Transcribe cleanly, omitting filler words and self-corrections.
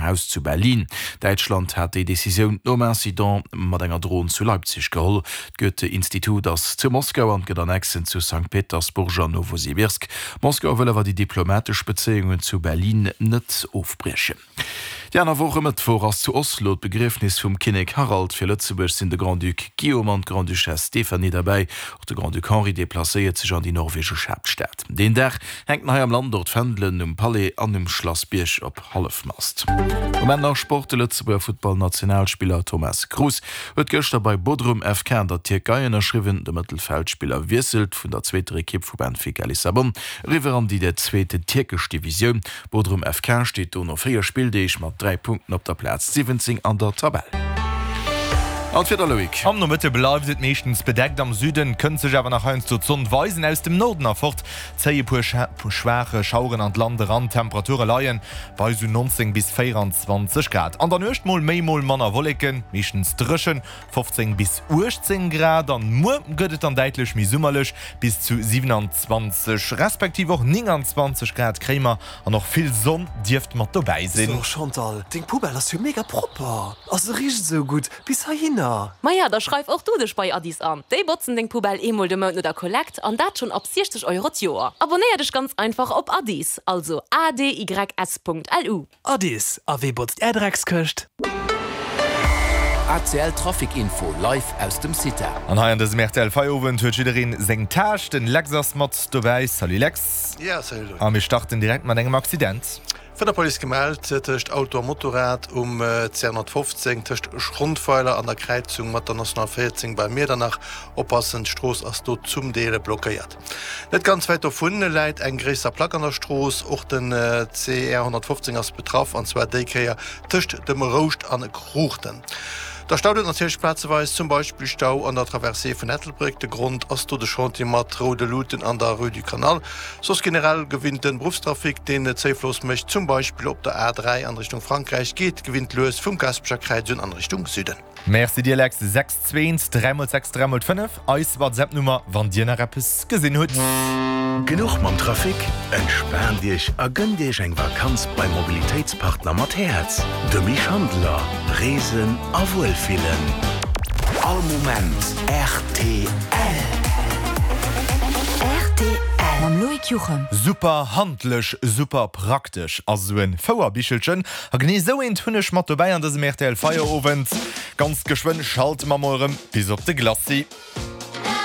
Haus zu Berlin. Däitschland hat déi Decisioun nom Incident mat enger Dron zu Leipzig geholl. D'Goethe-Institut ass zu Moskau an gëtt Annexen zu Sankt Petersburg an Nowosibirsk. Moskau wëll awer déi diplomatesch Bezéiungen zu Berlin net ofbriechen. Déi aner Woch e Mëttwoch ass zu Oslo d'Begriefnis vum Kinnek Harald. Fir Lëtzebuerg sinn de Grand-Duc Guillaume an d'Grande-Duchesse Stéphanie derbäi. Och de Grand-Duc Henri deplacéiert sech an déi norwegesch Haaptstad. Deen Dag hänken hei am Land och d'Fändelen um Palais an um Schlass Bierg op Hallefmast. Um Enn nach Sport, De Lëtzebuerger Futtballnationalspiller Thomas Cruz huet gëschter bei Bodrum FK an der Tierkei ënnerschriwwen. De Mëttelfeldspiller wiesselt vun der zweeter Ekipp vu Benfica Lissabon eriwwer an déi der zweete tierkesch Divisioun. Bodrum FK steet do no 4 Spilldeeg mat 3 Punkten op der Plaz 17 an der Tabell. An d'Wieder, Loïc? Am Nomëtte bleift et meeschtens bedeckt, am Süden kënnt sech awer nach heiansdo d'Sonn weisen. Aus dem Norden erfort zéie puer schwaach Schaueren an d'Land eran. D'Temperature leie bei sou 19 bis 24 Grad. An der Nuecht mol méi, mol manner Wolleken, meeschtens dréchen, 15 bis 18 Grad an muer gëtt et dann däitlech méi summerlech, bis zu 27 respektiv och 29 Grad kréie mer an och vill Sonn dierft mat dobäi sinn. So Chantal, deng Poubelle ass jo mega propper a se richt esou gutt bis heihinner. Maja, da schreif och du dech bei Addis an. Déi botzen deng Poubelle eemol de Mount no der Kollekt an dat schonn ab 60 Euro d'Joer. Abonnéier dech ganz einfach op Addis, also adys.lu. Addis, a wee botzt är Dreckskëscht? ACL Trafic Info live aus dem CITA. An hei an dësem rtl Feierowend huet jiddereen seng Tâche. Den Lex ass mat dobäi. Salut Lex. Ja, salut Loïc. A mir starten direkt mat engem Accident. Vun der Police gemellt, tëscht Auto a Motorrad um CR 115 tëscht Schrondweiler an der Kräizung mat der National 14 bei Miedernach. Oppassen, d'Strooss ass do zum Deel blockéiert. Net ganz wäit dovun läit eng gréisser Plack an der Strooss. Och den CR 115 ass betraff, an zwar déi Kéier tëscht dem Rouscht an Kruuchten. Da staut et natierlech plazeweis, zum Beispill Stau an der Traversée vun Ettelbréck. De Grond ass do de Chantier mat roude Luuten an der Rue du Canal. Soss generell gewinnt den Beruffstrafic, deen Zéifloss mécht, zum Beispill op der A3 an Richtung Frankräich, geet gewinnt lues vum Gaasperecher Kräiz un an Richtung Süden. Merci dir Lex, 6 2 1 3 mol 6 3 mol 5, eis WhatsApp Nummer wann dir nach eppes gesinn hutt. Genuch mam Trafic? Entspaant Iech a gënnt Iech eng Vakanz beim Mobilitéitspartner mat Häerz, dem Misch Handeler. Reesen a Wuelfillen. All Moment rtl. Rtl mam Loïc Juchem. Super handlech, super praktesch ass esou en Fouerbichelchen. A genee esou eent hunn ech mat dobäi an dësem rtl Feierowend. Ganz geschwënn schalte mer mol erëm bis op de Glacis.